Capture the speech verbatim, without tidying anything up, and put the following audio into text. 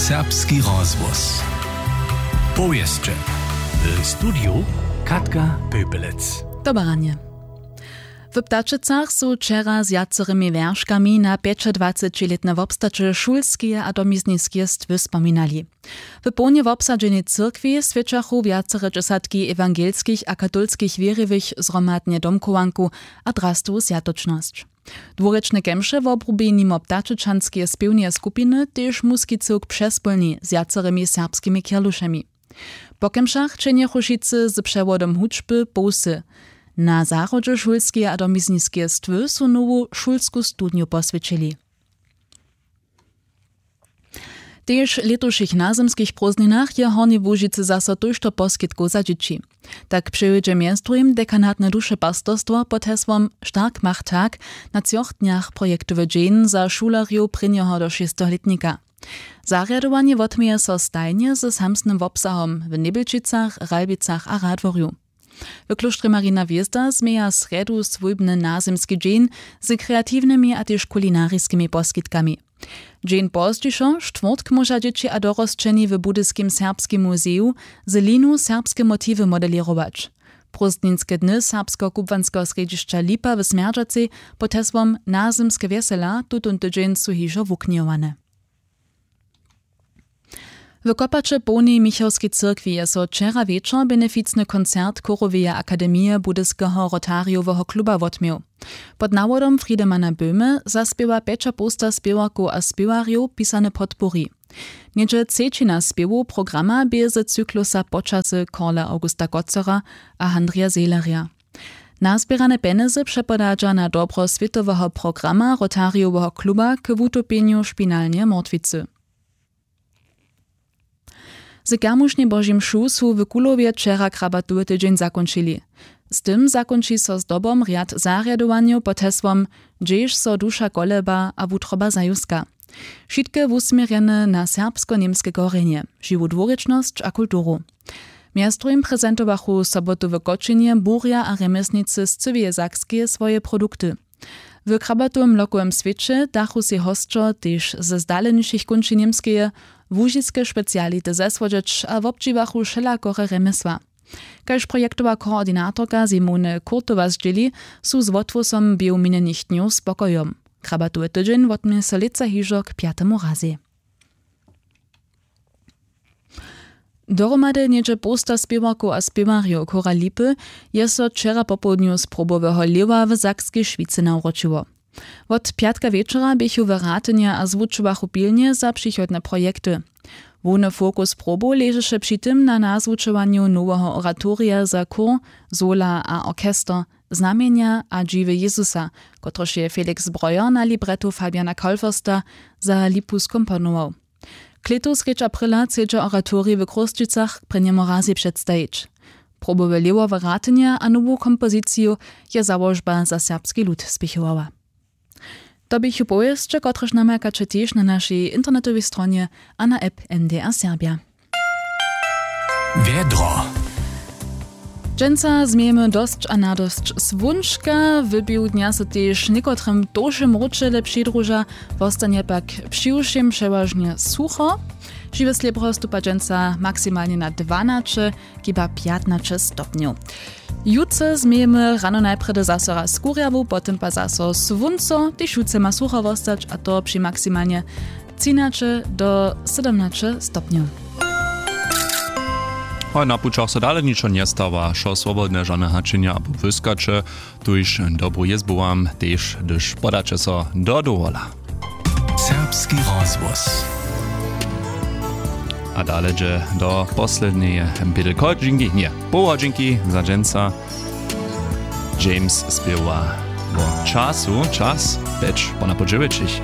Serbski rozhłos. Powěsće. W studiju Katka Pöpelec. Dobaranje. W Ptačicach su wčera z wjacorymi wjerškami na pjećadwacećilětne wobstaće šulskeje a domizniskeje stwy spominali. W połnje wobsadźenej cyrkwi swjećachu wjacere dźesatki ewangelskich a katolskich wěriwych zhromadnje domchowanku a drastowu swjatočnosć. Dwurěčne kemše wobrubi nimo ptačečanskeje spěwneje skupiny tež muski cyłk přespólni z wjacorymi serbskimi kerlušemi. Po kemšach čenjechu wšitcy z přewodom hudźby połsy. Na zahrodźe šulskeje a domizniskeje stwy su nowu šulsku studnju poswjećili. Tež w lětušich nazymskich prózdninach je w Hornjej Łužicy zaso tójšto poskitkow za dźěći. Tak přewjedźe mjez druhim dekanatne duše pastorstwo pod hesłom Stark macht tak na třoch dnjach projektowy dźeń za šulerjow prěnjeho do šesteho lětnika. Zarjadowanje wotměje so stajnje ze samsnym wobsahom w Njebjelčicach, Ralbicach a Radworju. W klóštrje Marina Hwězda změja srjedu swójbny nazymski dźeń z kreatiwnymi a tež kulinariskimi poskitkami. Dźeń pozdźišo, štwórtk, móža dźěći a dorosćeni w budyskim serbskim muzeju z linu serbske motiwy modelěrować. Prózdninske dny serbskeho kubłanskeho srjedźišća Lipa w Smjerdźacej pod hesłom Nazymske wjesela tutón tydźeń su hižo wuknjowane. W Kopače połnej Michałskej cyrkwi je so wčera wječor beneficny koncert Chóroweje akademije Budyskeho Rotarijoweho kluba wotměł. Pod nawodom Friedemana Böhme zaspěwa pjećapołsta spěwarkow a spěwarjow pisane podpori. Něhdźe třećina spěwow programa bě z cyklusa Počasy Karla Augusta Kotzera a Handrija Sehlerja. Nazběrane pjenjezy přepodadźa na dobro swětoweho programa Rotarijoweho kluba k wutopjenju špinalneje mortwicy. Z kermušnjej Božej mšu su w Kulowje wčera krabatowy tydźeń zakónčili. Z tym zakónči so zdobom rjad zarjadowanjow pod hesłom Hdźež so duša koleba a wutroba zajuska. Wšitke wusměrjene na serbsko-němske korjenje, žiwu dwurěčnosć a kulturu. Mjez druhim prezentowachu sobotu w Kočenje burja a rjemjeslnicy z cyłeje Sakskeje swoje produkty. W krabatowym lokowym swěće dachu sej hosćo tež ze zdalenišich kónčin Němskeje, łužiske speciality zesłodźeć a wobdźěłachu wšelakore rjemjesła. Kaž projektowa koordinatorka Simone Kurtowa zdźěli, su z wothłosom běhu minjenych dnjow spokojom. Krabatowy tydźeń wotměje so lětsa hižo k pjatemu razej. Dohromady něhdźe połsta spěwarkow a spěwarjow Chóra Lipy je so wčera popołdnju z Proboweho Lěwa w Sakskej Šwicy nawróćiło. Wot pjatka wječora běchu w Ratynje a zwučowachu pilnje za přichodne projekty. Hłowny fokus Probow ležeše při tym na nazwučowanju noweho oratorija za chór, sola a orchester, Znamjenja a dźiwy Jezusa, kotryž je Felix Breuer na libretto Fabiana Kaulfersta za Lipu skomponował. Klětu srjedź aprila chcedźa oratorij w Chrósćicach k prěnjemu razej předstajić. Probowe Lěwo w Ratynje a nowu kompoziciju je załožba za serbski lud spěchowała. To běchu powěsće, kotrež namakaće tež na našej internetowej stronje a na app N D R Serbja. Wjedro. Dźensa změjemy dosć a nadosć słónčka, w běhu dnja so tež někotrym tołše mróčele přidruža, wostanje pak přiwšěm přewažnje sucho. Žiwe slěbro stupa dźensa maksimalnje na dwanaće, hiba pjatnaće stopnjow. Jutře změjemy rano najprjedy zaso raz kurjawu, potom pak zaso słónco, tež jutře ma sucho wostać, a to při maksimalnje třinaće do sydomnaće stopnjow. Hoj, na pućach so dale ničo njestawa, wšo swobodne, žane hačenja abo wyskaće, tuž dobru jězbu wam, tež hdyž podaće so do dowola. Serbski rozhłos. A dale dźe do posledneje bědelko dźinki, nje, poł hodźinki za dźensa. James spěwa wo času, čas pjeć po na po dźewjećich.